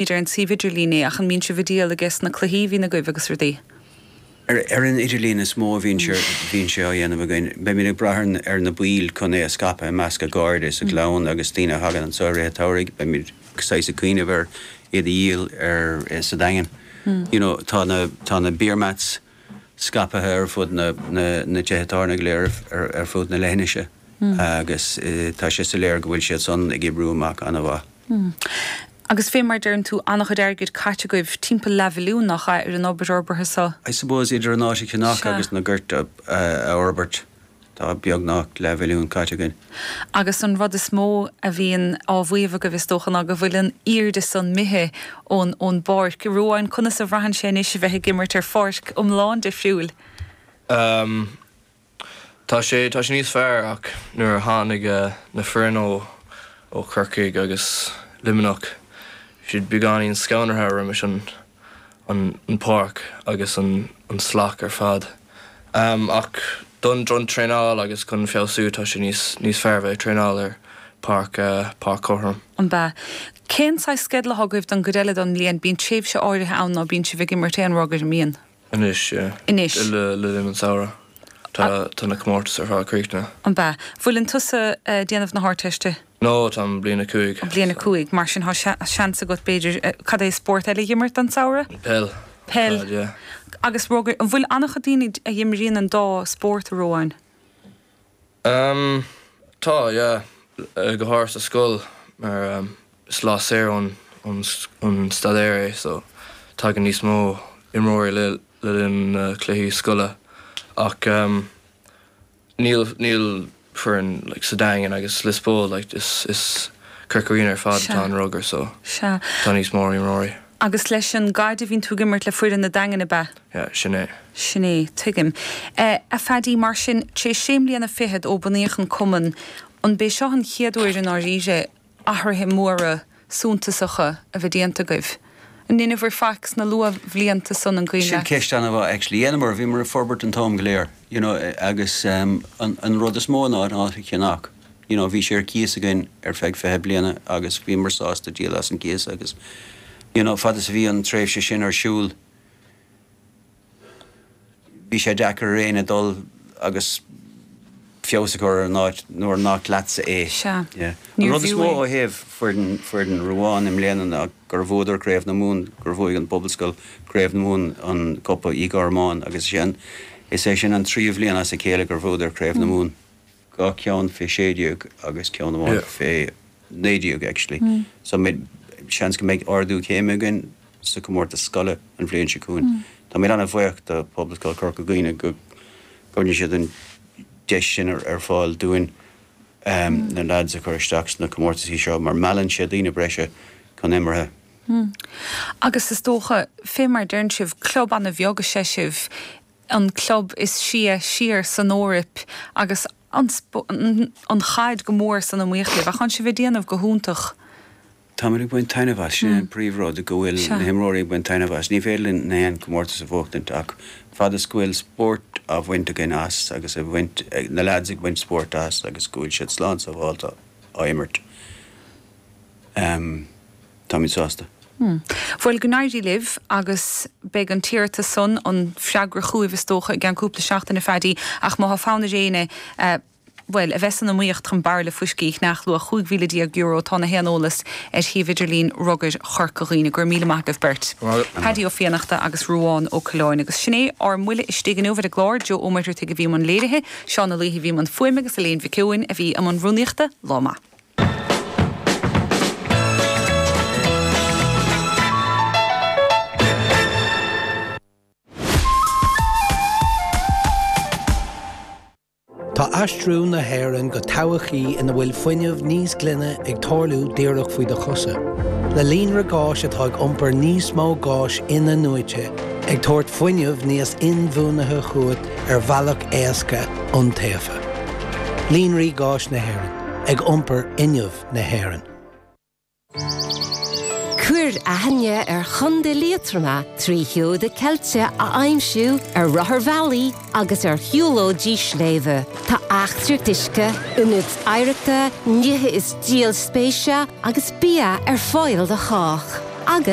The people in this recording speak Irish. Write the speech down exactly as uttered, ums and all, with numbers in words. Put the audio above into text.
Ar an suíomh idirlín é, ach an mbíonn sibh ag díol ages na cluichí a bhíonn agaibh agus rudaí? Ar ar an idirlíon is mó a bhíonn sé bhíonn sé á dhéanamh againn. Beimid ag brath ar na baill chun é a scaipeadh i measc a gcairde is a gclann agus daoine a thagann anseo i rith an tsamhraidh. Beimid saghas ag cuimhneamh ar iad a dhíol ar sa Daingean. You know, tá na tá na beer mats scaipthe ar fud na na na tithe tábhairne go léir ar ar fud na leithinise agus tá sé soiléir go bhfuil siad san ag oibriú amach an-mhaith. Agus fé mar deireann tú, an-chuid airgid caite agaibh, timpeall leathmhilliún, nach ea, ar an obair fhorbartha so? I suppose idir an áit a cheannach agus na goirt a fhorbairt, tá beagnach leathmhilliún caite againn. Agus an rud is mó a bhíonn á mhaíomh agaibh, is dócha, ná go bhfuil an airde san imithe ón ón bpáirc. Ruadhán, conas a bhraitheann sé anois a bheith ag imirt ar pháirc iomlán difriúil? Um, Tá sé tá sé níos fearr ach nuair a tháinig na foireann ó ó Chorcaigh agus Luimneach siad beagáinín scanraithe roimis an an an páirc agus an an slat ar fad. Um, ach don don traenáil agus chun feabhsú tá sé níos níos fearr bheith traenáil ar páirc uh, páirc chothrom. An bea. Cén saghas sceideal atá agaibh don gcuid eile don mbliain? Bíonn tréimhse áirithe ann ná bíonn sibh ag imirt aon rugair, an mbíonn? Anois, yeah. Anois. Le le linn an samhradh. Tá tá na comórtais ar fad críochnaithe. An bea. Bhfuileann tusa ag déanamh na hArdteiste? No, táim bliain a cúig. Bliain a cúig, mar sin tá seans agat b'fhéidir, cad é spórt eile a dh'imirt don samhradh? Peil. Peil. Peil, yeah. Agus rugair, an bhfuil an-chuid daoine a dh'imríonn an dá spórt, a Ruadháin? Um, tá, yeah. Go háirithe sa scoil mar um, is lá saor ón ón ón staidéar é, so tagann níos mó imreoirí le le linn na cluichí scoile ach um, níl níl foireann like, sa Daingean agus Lios Póil like, is is Corca Dhuibhne ar fad Sea. atá an rugar so Sea. tá níos mó imreoirí. Agus leis an gcaid a bhíonn tú ag imirt le foireann na Daingean ab ea? Yeah, sin é. Sin é, tuigim. Eh, a Phaddy, mar sin, tar éis sé mbliana fichead ó bunaíodh an cumann, an b'é seo an chéad uair i ndáiríre athruithe móra suntasacha a bheith déanta agaibh? An ndeineabhair faic sna luathbhlianta san an cuimhin Sin leat? ceist an-mhaith actually. Dhéanamar, bhíomar ag forbairt an t-am go léir, you know, agus um, an, an rud is mó ná an áit a cheannach. You know, bhí sé ar cíos againn ar feadh fiche bliana agus bhíomar sásta díol as an gcíos agus you know, fad is a bhí an tréimhse sin ar siúl, bhí sé deacair ar éinne dul agus feabhas a chur ar an áit nuair nach leatsa é. Sea. Yeah. An Níor rud is bhfiú mó é. ó thaobh foireann foireann Ruadhán i mbliana ná gur bhuadar Craobh na Mumhan, gur bhuaigh an Pobalscoil Craobh na Mumhan an Cupa Uí Ghormáin agus sin is é sin an tríú bhliain as a chéile gur bhuadar Craobh na Mumhan. Dhá cheann fé sé déag agus ceann amháin Yeah. fé naoi déag actually. So mé seans go mbeidh ardú céime againn sa comórtas scoile an bhliain seo chugainn. Tá mé an-bhuíoch do Pobalscoil Chorca Dhuibhne go gcuireann siad an deis sin ar, ar fáil dúinn um, na lads a chur isteach sna comórtaisí seo mar meallann sé daoine breise chun imeartha. Agus is dócha, fé mar deireann sibh, club an-bheag is ea sibh, an club is sia siar san Eoraip agus an, sp- an, an chaid go mór san iomaíocht libh, ach tá sibh ag déanamh go hiontach. Táimid ag baint taitneamh as sin an príomhrud go bhfuil Sea. na himreoirí ag baint taitneamh as. Ní féidir linn na haon comórtas a bhuachtaint ach fad is go bhfuil spórt á bhaint againn as agus a bhaint na lads ag baint spórt as agus go bhfuil siad slán sábháilte á imirt. Um, Táimid sásta. Bhuel go n-éirí libh agus beidh an t-iarratas san an freagra chugaibh is dócha i gceann cúpla seachtain a Phaddy ach má tá fonn ar éinne uh, Well, a bheith san iomaíocht chun bairille fuiscí a cheannach luach cúig mhíle déag euro tá na haon eolas ar shuíomh idirlín Rugair Chorca Dhuibhne go raibh míle maith agaibh beirt. Paddy Ó Fiannachta agus Ruadhán Ó Coileáin agus sin é ár mbuille istigh inniu ar an gclár Joe Ó Muircheartaigh a bhí i mbun léirithe, Seán Ó Laoithe a bhí i mbun fuaime agus Elaine Mhic Eoin a bhí i mbun rúnaíochta lá maith. Tá aistriú na hÉireann go todhchaí ina bhfuil fuinneamh níos glaine ag tarlú díreach faoi do chosa. Le líonra gáis atá ag iompar níos mó gáis in-athnuaite, ag tabhairt fuinneamh níos inbhuanaithe chugat ar bhealach éasca iontaofa. Líonraí gáis na hÉireann, ag iompar fhuinneamh na hÉireann. Cuir aithne ar Chontae Liatroma trí sheoda ceilte a aimsiú ar rotharbhealaí agus ar shiúlóidí sléibhe. Tá eachtraíocht uisce, ionaid oidhreachta, nithe is díol spéise agus bia ar fáil do chách. Agus